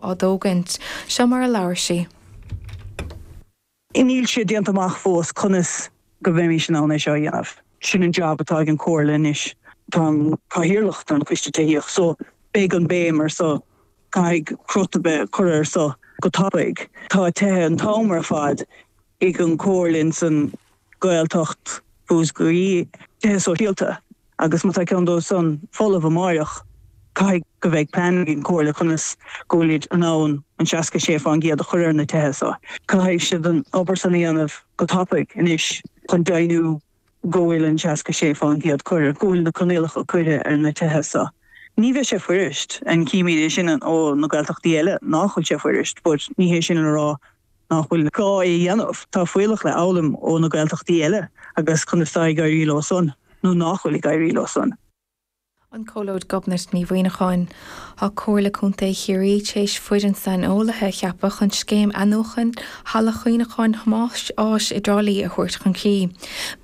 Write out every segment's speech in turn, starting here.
Á dtógaint. Seo mar a labhair sí. Níl sé déanta amach fós conas go mbeimís in ann é seo a dhéanamh. Sin an job atá ag an Chomhairle anois. Táim cathaoirleach don Choiste Tithíochta so beidh an béim ar so. Caithfidh crot a bheith curtha ar so go tapaidh. Tá tithe an t-am ar fad ag an Chomhairle ins an Ghaeltacht Mhúscraí, tithe sóisialta. Agus má tá ceann dóibh san folamh amáireach, caithfidh go bheidh plean ag an Chomhairle conas go bhfuilid in ann an 66% a chur ar na tithe so. Caithfidh siad an obair san a dhéanamh go tapaidh anois chun deimhniú go bhfuil an 66% curtha, go bhfuil na coinníollacha curtha ar na tithe so. Ní bheidh sé fuirist, and címid é sin ó na Gaeltachtaí eile nach bhfuil sé fuirist, but ní hé sin le rá nach bhfuil gá é a dhéanamh. Tá fuíollach le fhoghlaim ó na Gaeltachtaí eile agus conas tá ag éirí leo san nó nach bhfuil ag éirí leo san. An Comhluad Gobnait Ní Mhuimhneacháin. Tá Comhairle Contae Chiarraí téis foireann saineolaithe a cheapadh chun scéim athnuachan Halla Chuimhneacháin Thomáis Ághas i dTrá Lí a thabhairt chun cinn.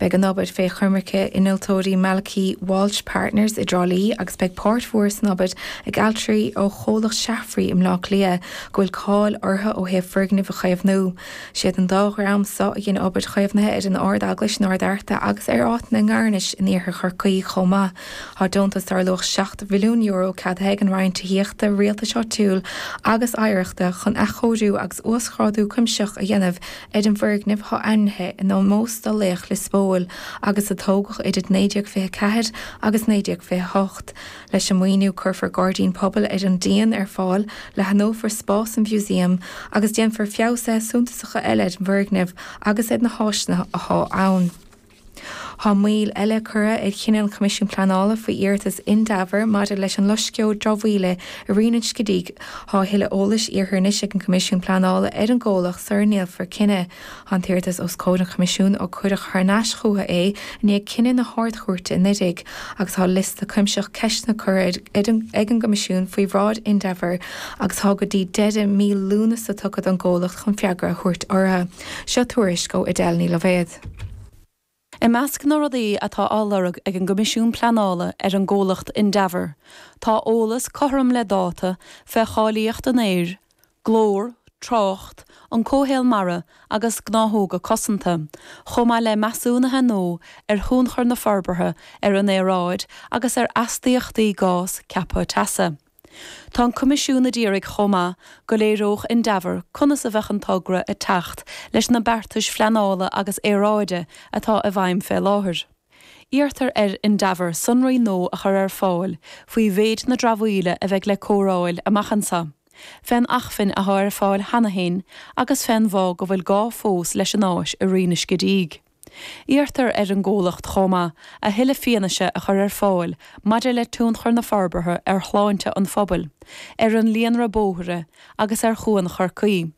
Beidh an obair fé choimirce innealtóirí Malachy Walsh Partners i dTrá Lí agus beidh páirt mhór san obair ag ailtirí ó chomhlacht Shaffrey i mBleá Cliath go bhfuil cáil orthu ó thaobh foirgnimh a chaomhnú. Siad an dá dhream so a dhein obair chaomhnaithe ar an Ard-Eaglais in Ard Fhearta agus ar áiteanna i nGairnis in iarthar Chorcaí chomh maith. Tá deontas dar luach €7 mhilliún ceadaithe ag an Roinn Tithíochta, Rialtais Áitiúil agus Oidhreachta chun athchóiriú agus uasghrádú cuimsitheach a dhéanamh ar an bhfoirgneamh atá ainmnithe in ómós do laoch Lios Póil agus a tógadh idir 1924 agus 1928. Leis an maoiniú cuirfear gairdín pobail ar an díon ar fáil, leathnófar spás an mhúsaeim agus déanfar feabhsuithe suntasacha eile ar an bhfoirgneamh agus ar na háiseanna athá ann. Tá moill eile curtha ar chinneadh an Choimisiúin Pleanála faoi iarratas Indaver maidir leis an loisceoir dramhaíola i Rinn an Scidígh. Tá a thuilleadh eolais iarrtha anois ag an gCoimisiún Pleanála ar an gcomhlacht sara ndéanfar cinneadh. Tá an t-iarratas os comhair an Choimisiúin ó cuireadh thar n-ais chucu é i ndiaidh cinneadh na hArd-Chúirte anuraidh agus tá liosta cuimsitheach ceisteanna curtha ag an gCoimisiún faoi bhráid Indaver agus tá go dtí deireadh mí Lúnasa tugtha don gcomhlacht chun freagra a thabhairt orthu. Seo tuairisc ó Edel Ní Loibhéad. I measc na rudaí atá á lorg ag an gCoimisiún Pleanála ar an gcomhlacht Indaver tá eolas cothrom le dáta fé cháilíocht an aeir, glór, trácht, an comhshaol mara agus gnáthóga cosanta, chomh maith le measúnuithe nua ar thionchar na forbartha ar an aeráid agus ar astaíochtaí gás ceaptha teasa. Tá an Coimisiún a d'iarraidh chomh maith go léireodh Indaver conas a bheadh an togra ag teacht leis na beartais phleanála agus aeráide atá i bhfeidhm fé láthair. Iarrtar ar Indaver sonraí nua a chur ar fáil faoi mhéid na dramhaíola a bheidh le cóireáil amach anseo, fén acmhainn athá ar fáil cheana féin agus fén bhfáth go bhfuil gá fós leis an áis i Rinn an Scidígh. Iarrtar ar an gcomhlacht chomh maith a thuilleadh fianaise a chur ar fáil maidir le tionchar na forbartha ar shláinte an phobail, ar an líonra bóithre agus ar Chuan Chorcaí,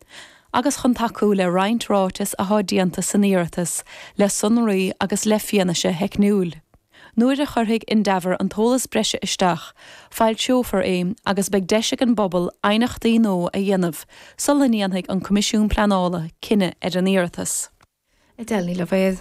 agus chun tacú le roinnt ráiteas athá déanta san iarratas le sonraí agus le fianaise theicniúil. Nuair a chuirfidh Indaver an t-eolas breise isteach, foilseofar é agus beidh deis ag an bpobal aighneachtaí nua a dhéanamh sula ndéanfaidh an Coimisiún Pleanála cinneadh ar an iarratas. Edel Ní Loibhéad.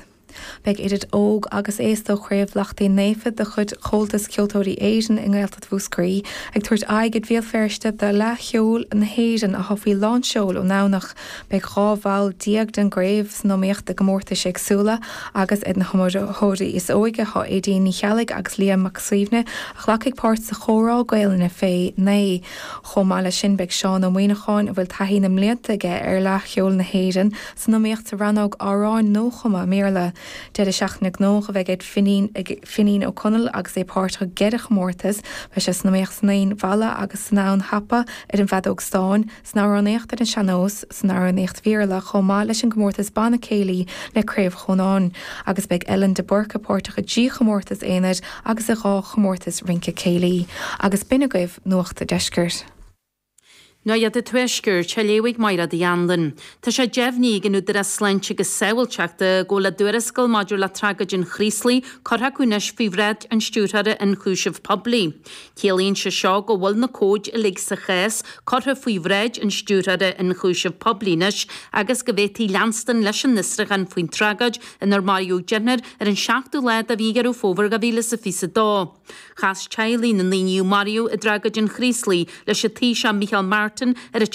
Beidh idir óg agus aosta ó Chraobh Lachtaín Naofa de chuid Chomhaltas Ceoltóirí Éireann i nGaeltacht Mhúscraí ag tabhairt aghaidh ar Bhéal Feirste do Fhleadh Cheoil na hÉireann athá faoi lán seoil ón nDomhnach. Beidh 12 bhall den gcraobh san iomaíocht i gcomórtais éagsúla agus ar na hiomaitheoirí is óige thá Aedín Ní Cheallaigh agus Liam Mac Suibhne a ghlacfaidh páirt sa chomhrá Gaelainne fé 9. Chomh maith leis sin beidh Seán Ó Muíneacháin a bhfuil taithí na mblianta aige ar Fhleadh Cheoil na hÉireann san iomaíocht sa rannóg amhráin nuachumtha i mBéarla. Deireadh seachtaine gnóthach a bheidh ag Finín ag Finín Ó Conaill agus é páirteach i gceithre chomórtas. Beidh sé san iomaíocht san fhoinn mhalla agus san fhonn thapa ar an bhfeadóg stáin, san amhránaíocht ar an sean-nós, san amhránaíocht Bhéarla chomh maith leis an gcomórtas Banna Céilí le Craobh Chrónáin. Agus beidh Ellen de Búrca páirteach i dtrí chomórtas aonair agus i dhá chomórtas rince céilí. Agus b'in agaibh Nuacht a' Deiscirt. Nuacht an Tuaiscirt, á léamh ag Máire Uí Anluain. Tá sé deimhnithe ag an Údarás Sláinte agus Sábháilteachta go bhfuil a dtuarascáil maidir le tragóid an Chraoslaigh curtha acu anois faoi bhráid an Stiúrthóra Ionchúiseamh Poiblí. Ciallaíonn sé seo go bhfuil na comhaid uilig sa chás curtha faoi bhráid an Stiúrthóra Ionchúiseamh Poiblí anois agus go bhféadfaí leanstan leis an bhfiosrúchán faoin tragóid inar maraíodh deichniúr ar an seachtú lá de mhí Dheireadh Fómhair 2022. Chas teaghlaigh na ndaoine a maraíodh i dtragóid an Chraoslaigh leis an Taoiseach Micheál Martin. Curtin ar a.